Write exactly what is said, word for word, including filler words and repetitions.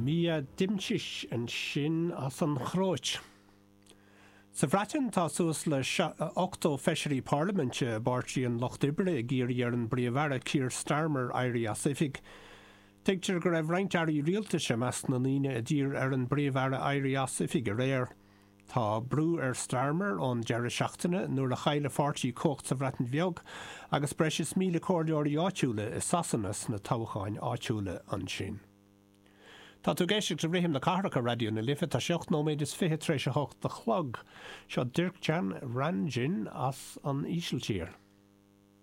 Mia Dimšić ansin as an Chróit. Sa Bhreatain tá suas le ochtó feisirí parlaiminte i bPáirtí an Lucht Oibre ag iarraidh ar an bPríomh-Aire Keir Starmer éirí as oifig. Tuigtear go raibh roinnt airí rialtais i measc na ndaoine a d'iarr ar an bPríomh-Aire éirí as oifig aréir. Tá brú ar Starmer ón deireadh seachtaine nuair a chaill a pháirtí cumhacht sa Bhreatain Bheag agus breis is míle comhairleoirí áitiúla i Sasana sna toghcháin áitiúla ansin. Tá tú ag éisteacht le Rithim na Cathrach ar Raidió na Life tá sé ocht nóiméad is fiche tar éis a hocht a chlog. Seo Dirk Jan Ranjin as an Ísiltír.